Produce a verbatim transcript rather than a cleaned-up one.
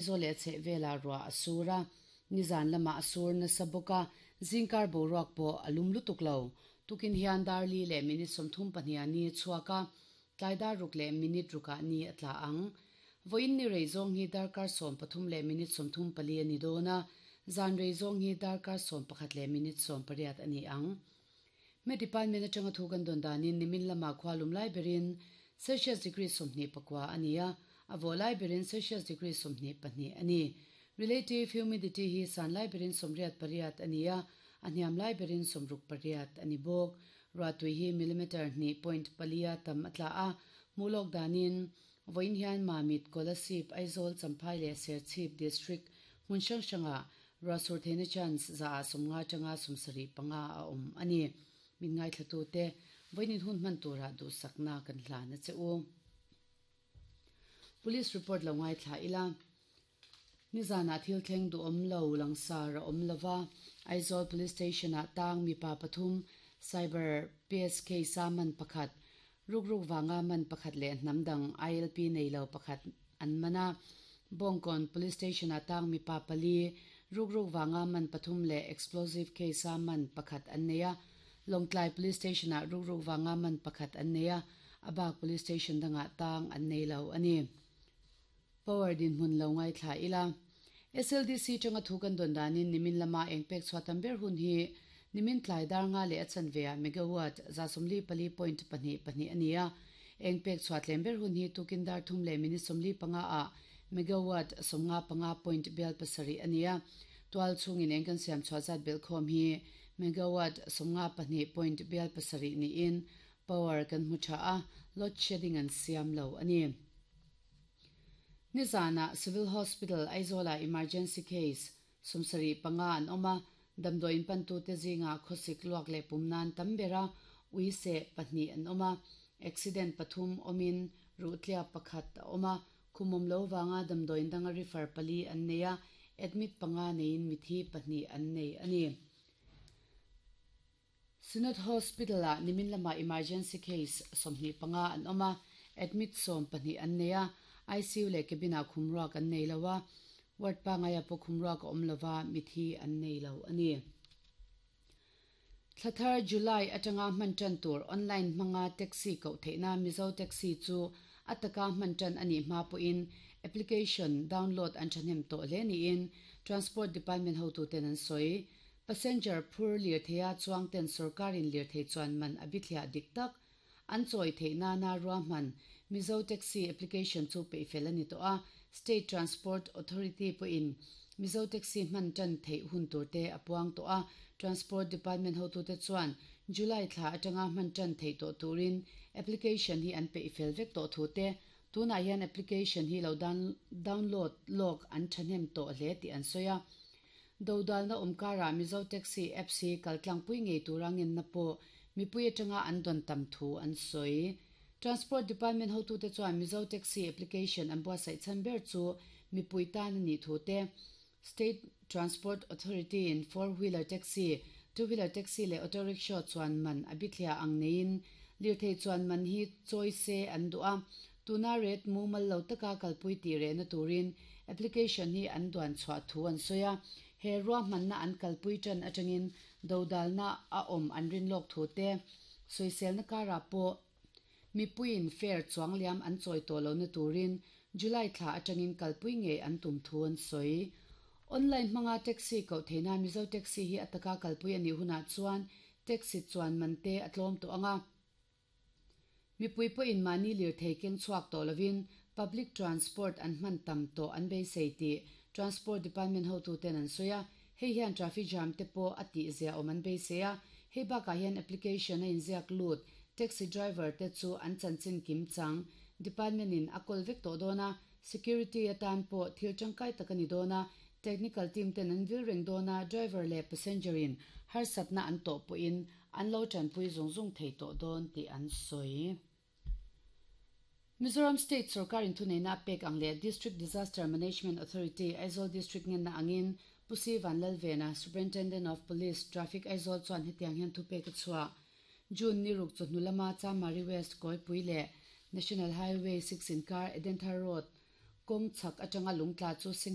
Aizawl leh a chhehvelah ruah a sur a, nizan lamah a sur nasa bawk a, zingkar boruak pawh a lum lutuk lo. Tukin hian dar li leh minute sawmthum pahniha ni a chhuak a, tlai dar ruk leh minute rukah ni a tla ang. Vawiin ni rei zawng hi darkar sawm pathum leh minute sawmthum pali a ni dawn a, zan rei zawng hi darkar sawm pakhat leh minute sawm pariat a ni ang. Me department atanga thu kan dawn danin nimin lamah khua lum lai berin Celsius degree sawmhnih pakua a ni a, a vawh lai berin Celsius degree sawmhnih pahnih a ni. Relative humidity hi san lai berin sawmriat pariat a ni a, a hniam lai berin sawmruk pariat a ni bawk. Ruahtui hi millimeter hnih point palia tam a tla a, hmuh lawk danin vawiin hian Mamit, Kolasib, Aizawl, Champhai leh Serchhip district hmun hrang hrangah ruah sur theihna chance za ah sawmnga atanga sawmsarih panga a awm a ni. Min ngaithlatute vawiin hun hman tura duhsakna kan hlan a che u. Police report lo ngaithla ila. Nizanah thil thleng duhawm lo langsar a awm lova, Aizawl Police Station-ah tang mipa pathum, Cyber P S K sa man pakhat, rukruk vanga man pakhat leh hnam dang I L P nei lo pakhat an man a. Bawngkawn Police Station-ah tang mipa pali, rukruk vanga man pathum leh explosive case a man pakhat an nei a. Lawngtlai Police Station-ah rukruk vanga man pakhat an nei a, a bak Police Station dangah tang an nei lo a ni. Power dinhmun lo ngaithla ila. S L D C tanga thu kan dawn danin nimin lama eng pek chhuah tam ber hun hi nimin tlai dar nga leh a chanve ah megawatt za sawmli pali point pahnih pahnih a ni a. Eng pek chhuah tlem ber hun hi tukin dar thum leh minute sawmli panga ah megawatt sawmnga panga point bial pasarih a ni a. Tual chungin eng kan siam chhuah zat bel khawm hi megawatt sawmnga pahnih point bial pasarih niin power kan hmu tha a, load shedding an siam lo a ni. Nizanah Civil Hospital Aizawlah emergency case sawmsarih panga an awm a, damdawiin pantute zingah khawsik luak leh pum nan tam ber a, ui seh pahnih an awm a, accident pathum awmin ruhtliak pakhat a awm a, khum awm lo vanga damdawiin danga refer pali an nei a, admit panga neiin mithi pahnih an nei a ni. Synod Hospital-ah nimin lamah emergency case sawmhnih panga an awm a, admit sawm pahnih an nei a, I C U leh cabin-ah khum ruak an nei lo a, ward pangaia pawh khum ruak a awm lova, mithi an nei lo a ni. Thlathar July atanga hman tan tur online hmanga taxi koh theihna Mizo Taxi chu a taka hman tan a nih hma pawhin application download an thahnem tawh hle niin Transport Department hotuten an sawi. Passenger phur lirtheia chuang ten sorkarin lirthei chuan man a bithliah dik tak an chawi theih nana ruahman Mizo Taxi application chu peihfel a ni tawh a, State Transport Authority pawhin Mizo Taxi hman tan theih hun turte a puang tawh a, Transport Department hotute chuan July thla atanga hman tan theih tawh turin application hi an peihfel vek tawh thu te, tunah hian application hi lo download lawk an thahnem tawh hle tih an sawi a. Dodalna awmkarah Mizo Taxi apps hi kaltlangpui ngei tura ngenna pawh mipui atanga an dawn tam thu an sawi. Transport Department hotute chuan Mizo Taxi application an buatsaih chhan ber chu mipui tan a nih thu te, State Transport Authority in four wheeler taxi, two wheeler taxi leh auto rickshaw chuan man a bithliah ang neiin lirthei chuan man hi chawi se an duh a, tuna rate mumal lo taka kalpui tih rehna turin application hi an duan chhuah thu an sawi a. He ruahmanna an kalpui tan atangin dodalna a awm an rin lawk thu te, sawiselna karah pawh mipuiin fare chuang liam an chawi tawh lohna turin July thla atangin kalpui ngei an tum thu an sawi. Online hmanga taxi koh theihna Mizo Taxi hi a taka kalpui a nih hunah chuan taxi chuan man te a tlawm tawh anga, mipui pawhin mahni lirthei keng chhuak tawh lovin public transport an hman tam tawh an beisei tih Transport Department hotuten an sawi a, hei hian traffic jam te pawh a tih zia awm an beisei a. Hei bakah hian application a inziak lut taxi driver te chu an chanchin kim chang department in a kawl vek tawh dawn a, security atan pawh thil tangkai tak a ni dawn a, technical team ten an vil reng dawn a, driver leh passenger in harsatna an tawh pawhin an lo tanpui zung zung thei tawh dawn tih an sawi. Mizoram State Sarkarin thuneihna pek ang leh District Disaster Management Authority Aizawl District ngenna angin Pu C Vanlalvena, Superintendent of Police, Traffic Aizawl chuan hetiang hian thu pek a chhuah. June ni ruk chawhnu lama Chamari West Kawipui leh National Highway six inkar Edenthar Road Kawng chhak atanga lung tla chu seng